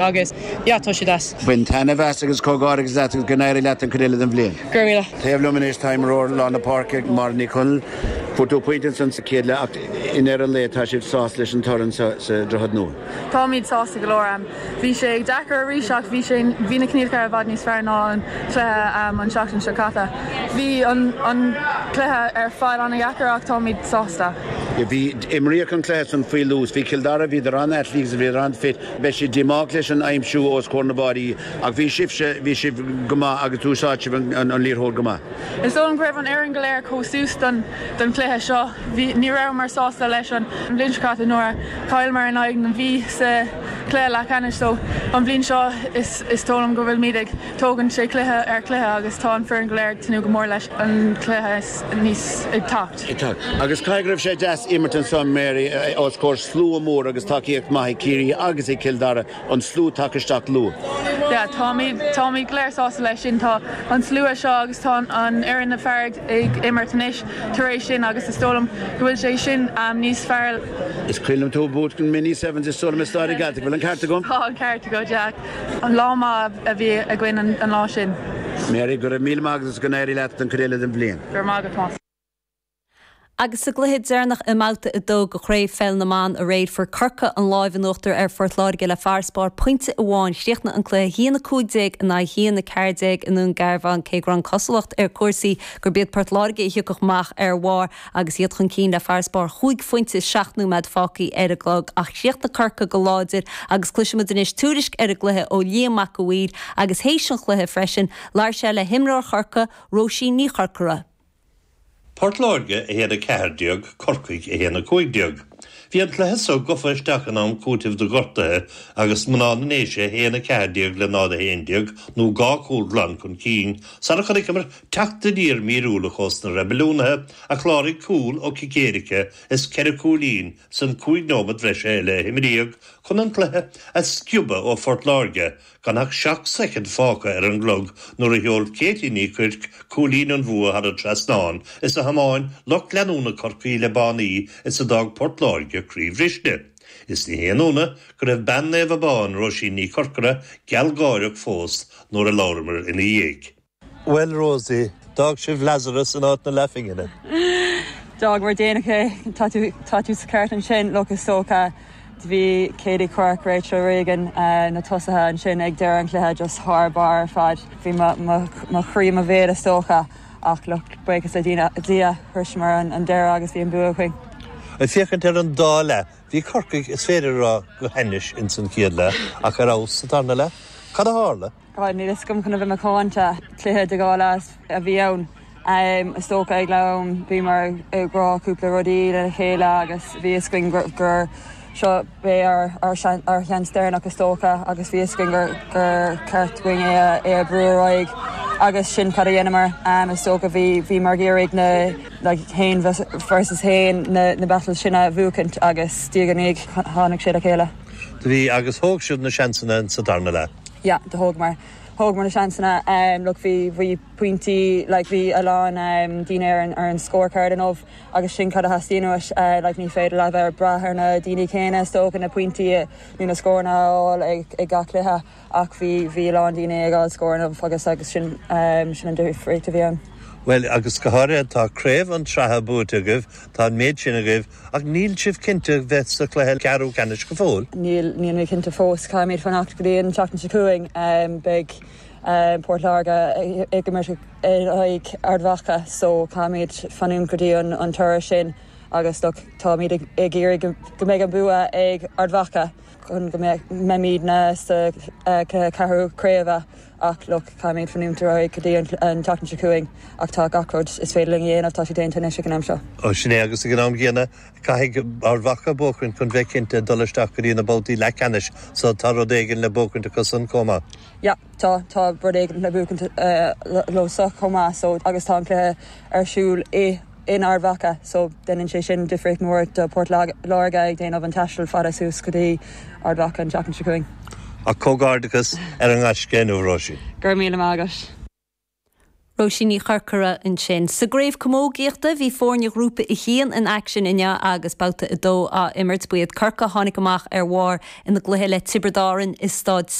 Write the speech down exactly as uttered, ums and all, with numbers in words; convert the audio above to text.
Agus yeah, tá sé deas. Bain taitneamh as agus comhghairdeachas leat agus go n-éirí leat an chuid eile den bhliain. Go raibh míle. Taobh liom anois tá imreoir lár na páirce Máire Ní Chonaill. Fuair tú pointe ansan sa chéad leath ach i ndeireadh an lae tá sibh sásta leis an toradh sa Droichead Nua. Táimid sásta go leor. Bhí sé deacair arís ach bhí sé bhí na coinníollacha i bhfad níos fearr ná an cluiche an seachtain seo caite. Bhí an an cluiche ar fad an-deacair ach táimid sásta. Bhí imríodh an cluiche san faoi luas, bhí Cill Dara bhíodar an-athletic agus bhíodar an-fit, beidh siad díomách leis an aimsiú os comhair na bpáistí ach bhí sibhse bhí sibh go maith agus d'úsáid sibh an liathróid go maith. Is dóigh go raibh an fhoireann go léir chomh suas don don chluiche seo. Bhí ní rabhamar sásta leis an bhliain seo caite nuair a chailleamar in aghaidh na Mí sa chluiche leathcheannais so an bhliain seo is is dóigh liom go bhfuilimid ag tógaint sé cluiche ar chluiche agus tá an foireann go léir ag tnúth go mór leis an cluiche níos ag teacht. Agus caithfidh go raibh sé deas imirt ansan Mary os comhair slua mór agus tacaíocht maith ag Ciarraí agus ag Cill Dara an slua tagtha isteach luath. Yeah, táimid táimid go léir sásta leis sin tá an slua seo agus tá an fhoireann na fear ag imirt anois tar éis sin agus is dóigh liom go bhfuil sé sin um, níos fearr. Is cuimhin liom tú buachaint mini sevens is dóigh liom i Staid Gaeltacht bhfuil an ceart agam? Tá an ceart agat Jack. An lá maith a bhí againn an, an lá sin. Mary go raibh míle maith agus go n-éirí leat an chuid eile den bhliain. Gur maith agat Tomás. Agus sa gcluiche deireanach i mbabhta a dó de chraobh pheil na mban aréir fuair Corcaigh an lámh in uachtar ar Phort Láirge le farasbarr pointe amháin chríochnaigh an cluiche haon a cúig déag in aghaidh haon a ceathair déag i nDún Garbhán cé go raibh an cosúlacht ar chúrsaí gurb iad Port Láirge a thiocfadh amach ar bharr agus iad chun cinn le farasbarr chúig phointe seacht nóiméad fágtha ar an gclog ach chríochnaigh Corcaigh go láidir agus cloisfimid anois tuairisc ar an gcluiche ó Liam Mac Uidhir agus théis an chluiche freisin labhair sé le himreoir Chorcaí Róisín Ní Chorcora. Port Láirge a haon a ceathair déag Corcaigh a haon a cúig déag. Bhí an cluiche so gafa isteach in am cúitimh do ghortuithe agus mná na nDéise haon a ceathair déag le náid a haon déag nó dhá chúl glan chun cinn, sara chonaiceamar teacht aniar míorúilteach ós na reibiliúnaithe a chláraigh cúl ó chic éirice is ceithre chúilín san cúig nóiméad bhreise eile a imríodh chun an cluiche a sciobadh ó Phort Láirge gan ach seacht soicind fágtha ar an gclog nuair a sheol Katie Ní Chuirc cúilín an bhua thar an trasnán is a thiomáin lucht leanúna Chorcaí le bannaí is a d'fhág Port Láirge croíbhriste. Is ní haon ionadh go raibh bean Naomh Abán Róisín Ní Chorcora gealgháireach fós nuair a labhramar ina dhiaidh. Well Rosie, d'fhág sibh Lazarus in áit na leathphingine. D'fhágamar déanach é tá tú sa ceart ansin look is dócha bhí Katie Quirke Rachel Regan uh, na tosaithe ansin ag deireadh an chluiche just thar barr ar fad. Bhí mo chroí i mo bhéal is dócha ach look buíochas le Dia shroiseamar an, an deireadh agus bhí an bua againn. Ag féachaint ar an dá leath, bhí Corcaigh is féidir rá go hainnis in san chéad leath ach ar fheabhas sa tarna leath, Cad a tharla? God níl a fhios agam chun a bheith macánta cluiche de dhá leath a bhí ann. Um, is dócha ag leath-am bhíomar ag rá cúpla rudaí le chéile agus bhí a fhios againn gur, gur seo bé ár ár seans deireanach is dócha agus bhí a fhios againn gur gur ceart dúinn é é a bhrú ar aghaidh agus sin cad a dhéanamar um, is dócha bhí bhí mar géirigh na like, haon versus haon na, na battle sin a bhuachaint agus diaigh tháinig sé le chéile. Do bhí agus thóg sibh na seansanna sa darna leath. Ja, do thógamar. Thógamar na seansanna um, look bhí bhí pointí like, bhí a lán um, daoine ar an, ar an scorecard inniu agus sin cad a theastaíonn uait uh, like, ní féidir le bheith brath ar na daoine céanna is dócha na pointí nó na scóranna a fháil ag, ag gach cluiche ach bhí bhí a lán daoine ag fháil scóranna agus agus sin um, sin an difríocht a bhí ann. Well agus go háirithe tá craobh an tsraithe buaite agaibh tá an méid sin agaibh ach níl sibh cinnte bheith sa chluiche ceathrú ceannais go fóill. Níl níl mé cinnte fós caithfimid fanacht go dtí an tseachtain seo chugainn um, beidh um, Port Láirge ag imirt ag Ard Mhacha so caithfimid fanúint go dtí an, an toradh sin agus look, táimid ag ag iarraidh go go mbeidh an bua ag Ard Mhacha chun go mbeimidne sa uh, ceathrú craoibhe ach look caithfimid fanúint ar aghaidh go dtí an, an tseachtain seo chugainn ach tá gach rud is féidir linn a dhéanamh tá sé déanta anois ag an am seo. Ó sin é agus ag an am gcéanna caithfidh Ard Mhacha buachan chun bheith cinnte dul isteach go dtí na babhtaí leathcheannais so tá rud éigin le buachaint acu san chomh maith. Ja, tá tá rud éigin le buachaint uh, leo so chomh maith so agus tá an cluiche ar siúl i in Ard Mhacha so déanann sé sin difríocht mór do Port Láirge ag déanamh an taisteal fada suas go dtí Ard Mhacha an tseachtain seo chugainn. A comhghairdeachas ar an ngaisce inniu Róisín. Gur míle maith agat. Róisín Ní Chorcora ansin. Sa gcraobh camógaíochta bhí foirne ghrúpa a haon in aicsean inniu agus babhta a dó á imirt ba iad Corcaigh a tháinig amach ar bharr ina gcluiche le Tiobraid Árann i Staid